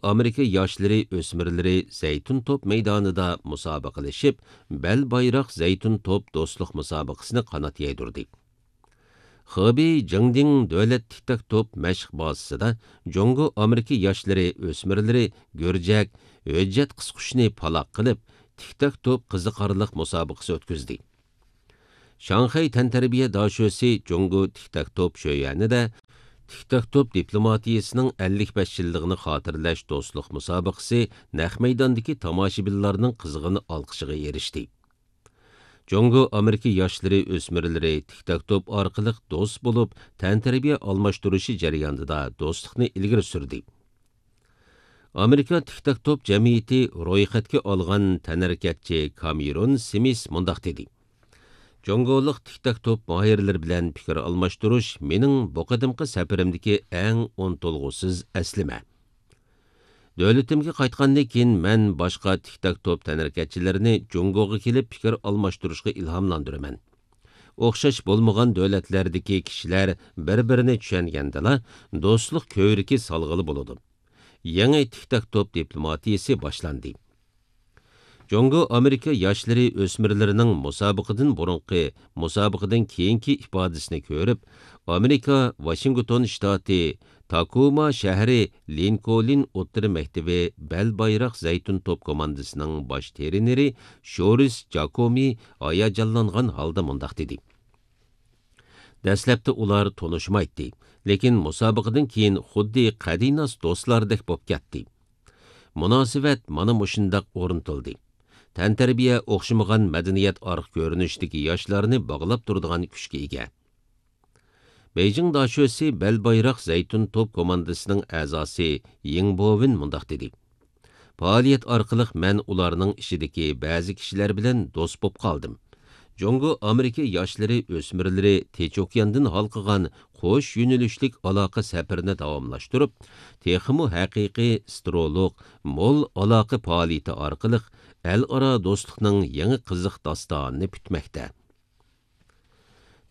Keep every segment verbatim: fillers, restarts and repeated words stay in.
ئامېرىكا ياشلىرى ئۆسمۈرلىرى زەيتۇن توپ مەيدانىدا مۇسابىقىلىشىپ، بەل بايراق زەيتۇن توپ دوستلۇق مۇسابىقىسىنى قانات يايدۇردى. خېبېي جىڭدىڭ دۆلەت تىك تاك توپ مەشىق بازىسىدا جۇڭگو ئامېرىكا ياشلىرى ئۆسمۈرلىرى گۈرجەك، ھۆججەت قىسقۇچنى پالاق قىلىپ، تىك تاك توپ قىزىقارلىق مۇسابىقىسى ئۆتكۈزدى. شاڭخەي تەنتەربىيە داشۆسى جۇڭگو تىك تاك توپ شۆيۈەنىدە تىك تاك توپ دىپلوماتىيىسىنىڭ ئەللىك بەش يىللىقىنى خاتىرىلەش دوستلۇق مۇسابىقىسى نەق مەيداندىكى تاماشىبىنلارنىڭ قىزغىن ئالقىشىغا ئېرىشتى. جۇڭگو ئامېرىكا ياشلىرى ئۆسمۈرلىرى تىك تاك توپ ئارقىلىق دوست بولۇپ، تەنتەربىيە ئالماشتۇرۇشى جەريانىدا دوستلۇقنى ئىلگىرى سۈردى. ئامېرىكا تىك تاك توپ جەمئىيىتى رويخەتكە ئالغان تەنھەرىكەتچى كامېرون سىمىس مۇنداق دېدى: جۇڭگولۇق تىك تاك توپ ماھىرلىرى بىلەن پىكىر ئالماشتۇرۇش مېنىڭ بۇ قېتىمقى سەپىرىمدىكى ئەڭ ئۇنتۇلغۇسىز ئەسلىمە. دۆلىتىمگە قايتقاندىن كېيىن، مەن باشقا تىك تاك توپ تەنھەرىكەتچىلىرىنى جۇڭگوغا كېلىپ پىكىر ئالماشتۇرۇشقا ئىلھاملاندۇرىمەن. ئوخشاش بولمىغان دۆلەتلەردىكى كىشىلەر بىر-بىرىنى چۈشەنگەندىلا، دوستلۇق كۆۋرۈكى سالغىلى بولىدۇ. يېڭى تىك تاك توپ دىپلوماتىيىسى باشلاندى. جۇڭگو ئامېرىكا ياشلىرى ئۆسمۈرلىرىنىڭ مۇسابىقىدىن بۇرۇنقى، مۇسابىقىدىن كېيىنكى ئىپادىسىنى كۆرۈپ، ئامېرىكا ۋاشىنگتون شتاتى تاكوما شەھىرى لىنكولن ئوتتۇرا مەكتىپى بەل بايراق زەيتۇن توپ كوماندىسىنىڭ باش ترېنېرى شورىس جاكومى ھاياجانلانغان ھالدا مۇنداق دېدى: دەسلەپتە ئۇلار تونۇشمايتتى، لېكىن مۇسابىقىدىن كېيىن خۇددى قەدىناس دوستلاردەك بولۇپ كەتتى. مۇناسىۋەت مانا مۇشۇنداق ئورنىتىلدى. تەنتەربىيە ئوخشىمىغان مەدەنىيەت ئارقا كۆرۈنۈشىدىكى ياشلارنى باغلاپ تۇرىدىغان كۈچكە ئىگە. بېيجىڭ داشۆسى بەل بايراق زەيتۇن توپ كوماندىسىنىڭ ئەزاسى يىڭ بوۋېن مۇنداق دېدى: پائالىيەت ئارقىلىق مەن ئۇلارنىڭ ئىچىدىكى بەزى كىشىلەر بىلەن دوست بولۇپ قالدىم. جۇڭگو ئامېرىكا ياشلىرى ئۆسمۈرلىرى تىنچ ئوكياندىن ھالقىغان قوش يۆنىلىشلىك ئالاقە سەپىرىنى داۋاملاشتۇرۇپ، تېخىمۇ ھەقىقىي سترولۇق، مول ئالاقە پائالىيىتى ئارقىلىق ئەل ئارا دوستلۇقنىڭ يېڭى قىزىق داستانىنى پۈتمەكتە.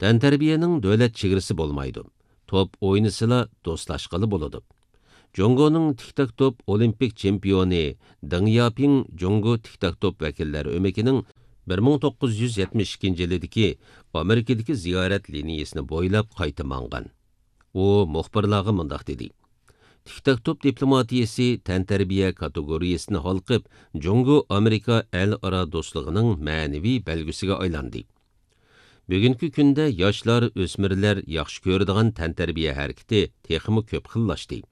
تەنتەربىيەنىڭ دۆلەت چېگرىسى بولمايدۇ. توپ ئوينىسىلا دوستلاشقىلى بولىدۇ. جۇڭگونىڭ تىك تاك توپ ئولىمپىك چېمپىيونى دېڭ ياپىڭ جۇڭگو تىك تاك توپ ۋەكىللەر ئۆمىكىنىڭ بىر مىڭ توققۇز يۈز يەتمىش ئىككىنچى يىلىدىكى ئامېرىكىدىكى زىيارەت لىنىيىسىنى بويلاپ قايتا ماڭغان. ئۇ مۇخبىرلارغا مۇنداق دېدى: تىك تاك توپ دىپلوماتىيىسى تەنتەربىيە كاتېگورىيىسىنى ھالقىپ، جۇڭگو ئامېرىكا ئەل ئارا دوستلۇقىنىڭ مەنىۋى بەلگىسىگە ئايلاندى. بۈگۈنكى كۈندە ياشلار، ئۆسمۈرلەر ياخشى كۆرىدىغان تەنتەربىيە ھەرىكىتى تېخىمۇ كۆپ خىللاشتى.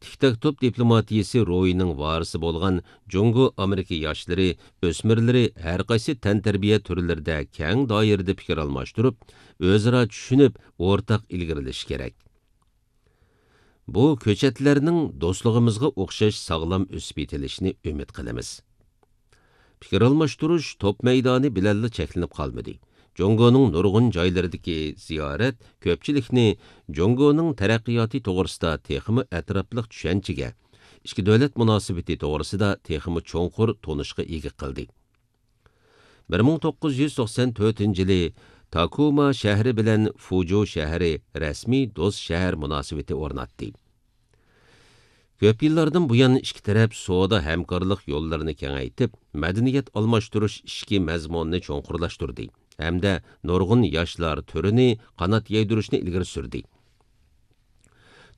تىك تاك توپ دىپلوماتىيىسى روھىنىڭ ۋارىسى بولغان جۇڭگو ئامېرىكا ياشلىرى، ئۆسمۈرلىرى ھەرقايسى تەنتەربىيە تۈرلىرىدە كەڭ دائىرىدە پىكىر ئالماشتۇرۇپ، ئۆزئارا چۈشىنىپ، ئورتاق ئىلگىرىلىشى كېرەك. بۇ كۆچەتلەرنىڭ دوستلۇقىمىزغا ئوخشاش ساغلام ئۆسۈپ يېتىلىشىنى ئۈمىد قىلىمىز. پىكىر ئالماشتۇرۇش توپ مەيدانى بىلەنلا چەكلىنىپ قالمىدى. جۇڭگونىڭ نۇرغۇن جايلىرىدىكى زىيارەت كۆپچىلىكنى جۇڭگونىڭ تەرەققىياتى توغرىسىدا تېخىمۇ ئەتراپلىق چۈشەنچىگە، ئىككى دۆلەت مۇناسىۋىتى توغرىسىدا تېخىمۇ چوڭقۇر تونۇشقا ئىگە قىلدى. بىر مىڭ توققۇز يۈز توقسان تۆتىنچى يىلى تاكوما شەھىرى بىلەن فۇجۇ شەھىرى رەسمىي دوست شەھەر مۇناسىۋىتى ئورناتتى. كۆپ يىللاردىن بۇيان ئىككى تەرەپ سودا ھەمكارلىق يوللىرىنى كېڭەيتىپ، مەدەنىيەت ئالماشتۇرۇش ئىچكى مەزمۇنىنى چوڭقۇرلاشتۇردى ھەمدە نۇرغۇن ياشلار تۈرىنى قانات يايدۇرۇشنى ئىلگىرى سۈردى.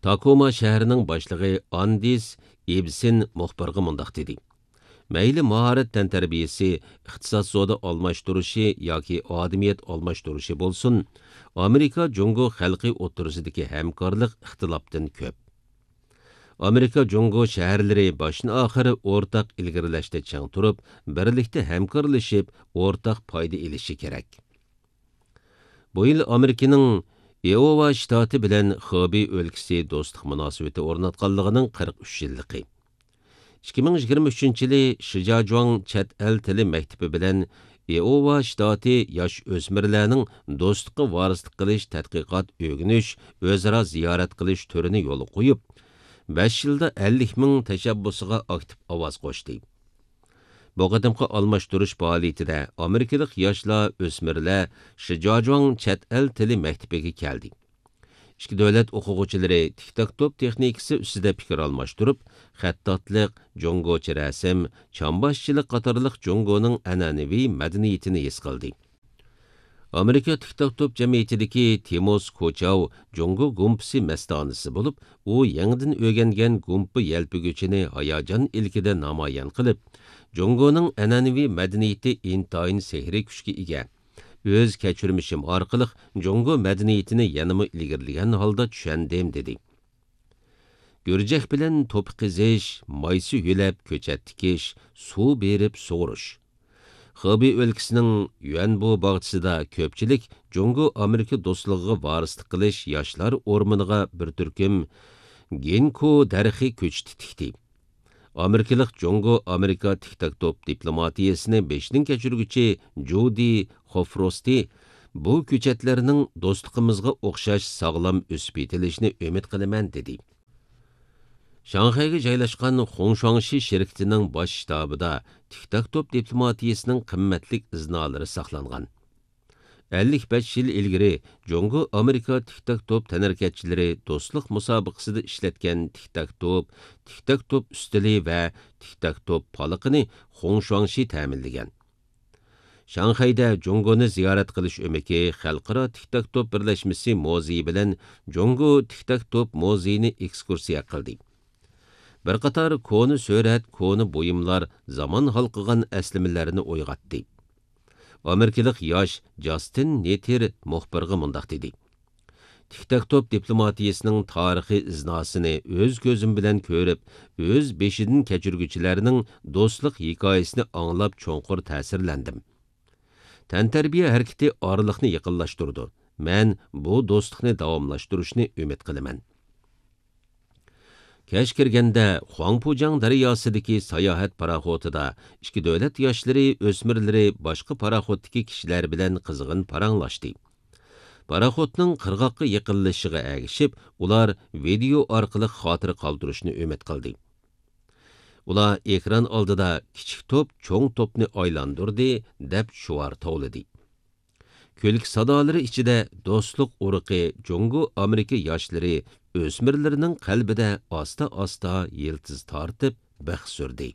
تاكوما شەھىرىنىڭ باشلىقى ئاندىس ئىبسېن مۇخبىرغا مۇنداق دېدى: مەيلى ماھارەت تەنتەربىيىسى، ئىقتىساد سودا ئالماشتۇرۇشى ياكى ئادىمىيەت ئالماشتۇرۇشى بولسۇن، ئامېرىكا جۇڭگو خەلقى ئوتتۇرىسىدىكى ھەمكارلىق ئىختىلاپتىن كۆپ. ئامېرىكا جۇڭگو شەھەرلىرى باشتىن ئاخىر ئورتاق ئىلگىرىلەشتە چىڭ تۇرۇپ، بىرلىكتە ھەمكارلىشىپ، ئورتاق پايدا ئېلىشى كېرەك. بۇ يىل ئامېرىكىنىڭ ئىئوۋا شتاتى بىلەن خېبېي ئۆلكىسى دوستلۇق مۇناسىۋىتى ئورناتقانلىقىنىڭ قىرىق ئۈچ يىللىقى. ئىككى مىڭ يىگىرمە ئۈچىنچى يىلى شىجاجۇاڭ چەت ئەل تىلى مەكتىپى بىلەن ئىئوۋا شتاتى ياش ئۆسمۈرلەرنىڭ دوستلۇققا ۋارىسلىق قىلىش تەتقىقات ئۆگىنىش ئۆزئارا زىيارەت قىلىش تۈرىنى يولغا قويۇپ، بەش يىلدا ئەللىك مىڭ تەشەببۇسىغا ئاكتىپ ئاۋاز قوشتى. بۇ قېتىمقى ئالماشتۇرۇش پائالىيىتىدە ئامېرىكىلىق ياشلار، ئۆسمۈرلەر شىجاجۇاڭ چەت ئەل تىلى مەكتىپىگە كەلدى. ئىككى دۆلەت ئوقۇغۇچىلىرى تىك تاك توپ تېخنىكىسى ئۈستىدە پىكىر ئالماشتۇرۇپ، خەتتاتلىق، جۇڭگوچە رەسىم، چامباشچىلىق قاتارلىق جۇڭگونىڭ ئەنئەنىۋى مەدەنىيىتىنى ھېس قىلدى. ئامېرىكا تىك تاك توپ جەمئىيىتىدىكى تىموس كوچاۋ جۇڭگو گۇمپىسى مەستانىسى بولۇپ، ئۇ يېڭىدىن ئۆگەنگەن گۇمپا يەلپۈگۈچىنى ھاياجان ئىلكىدە نامايان قىلىپ، جۇڭگونىڭ ئەنئەنىۋى مەدەنىيىتى ئىنتايىن سېھرىي كۈچكە ئىگە. ئۆز كەچۈرمىشىم ئارقىلىق جۇڭگو مەدەنىيىتىنى يەنىمۇ ئىلگىرىلىگەن ھالدا چۈشەندىم، دېدى. گۈرجەك بىلەن توپا قېزىش، مايسا يۆلەپ كۆچەت تىكىش، سۇ بېرىپ سۇغۇرۇش. خېبېي ئۆلكىسىنىڭ يۈەنبو باغچىسىدا كۆپچىلىك جۇڭگو ئامېرىكا دوستلۇقىغا ۋارىسلىق قىلىش ياشلار ئورمىنىغا بىر تۈركۈم گىنكو دەرىخى كۆچىتى تىكتى. ئامېرىكىلىق جۇڭگو ئامېرىكا تىك تاك توپ دىپلوماتىيىسىنى بېشىدىن كەچۈرگۈچى جۇدى خوفروستى بۇ كۆچەتلەرنىڭ دوستلۇقىمىزغا ئوخشاش ساغلام ئۆسۈپ يېتىلىشىنى ئۈمىد قىلىمەن، دېدى. شاڭخەيگە جايلاشقان خۇڭشۇاڭشى شىركىتىنىڭ باش شتابىدا تىك تاك توپ دىپلوماتىيىسىنىڭ قىممەتلىك ئىزنالىرى ساقلانغان. ئەللىك بەش يىل ئىلگىرى جۇڭگو ئامېرىكا تىك تاك توپ تەنھەرىكەتچىلىرى دوستلۇق مۇسابىقىسىدە ئىشلەتكەن تىك تاك توپ، تىك تاك توپ ئۈستىلى ۋە تىك تاك توپ پالىقىنى خۇڭشۇاڭشى تەمىنلىگەن. شاڭخەيدە جۇڭگونى زىيارەت قىلىش ئۆمىكى خەلقئارا تىك تاك توپ بىرلەشمىسى مۇزېيى بىلەن جۇڭگو تىك تاك توپ مۇزېيىنى ئېكسكۇرسىيە قىلدى. بىر قاتار كونا سۈرەت، كونا بۇيۇملار زامان ھالقىغان ئەسلىمىلەرنى ئويغاتتى. ئامېرىكىلىق ياش جاستىن نېتېر مۇخبىرغا مۇنداق دېدى: تىك تاك توپ دىپلوماتىيىسىنىڭ تارىخىي ئىزناسىنى ئۆز كۆزۈم بىلەن كۆرۈپ، ئۆز بېشىدىن كەچۈرگۈچىلەرنىڭ دوستلۇق ھېكايىسىنى ئاڭلاپ چوڭقۇر تەسىرلەندىم. تەنتەربىيە ھەرىكىتى ئارىلىقنى يېقىنلاشتۇرىدۇ. مەن بۇ دوستلۇقنى داۋاملاشتۇرۇشنى ئۈمىد قىلىمەن. كەچ كىرگەندە خۇاڭپۇجياڭ دەرياسىدىكى ساياھەت پاراخوتىدا ئىككى دۆلەت ياشلىرى، ئۆسمۈرلىرى باشقا پاراخوتتىكى كىشىلەر بىلەن قىزغىن پاراڭلاشتى. پاراخوتنىڭ قىرغاققا يېقىنلىشىشىغا ئەگىشىپ، ئۇلار ۋىدېئو ئارقىلىق خاتىرە قالدۇرۇشنى ئۈمىد قىلدى. ئۇلار ئېكران ئالدىدا «كىچىك توپ چوڭ توپنى ئايلاندۇردى» دەپ شوئار توۋلىدى. كۈلكە سادالىرى ئىچىدە دوستلۇق ئۇرۇقى جۇڭگو ئامېرىكا ياشلىرى، ئۆسمۈرلىرىنىڭ قەلبىدە ئاستا-ئاستا يىلتىز تارتىپ بىخ سۈردى.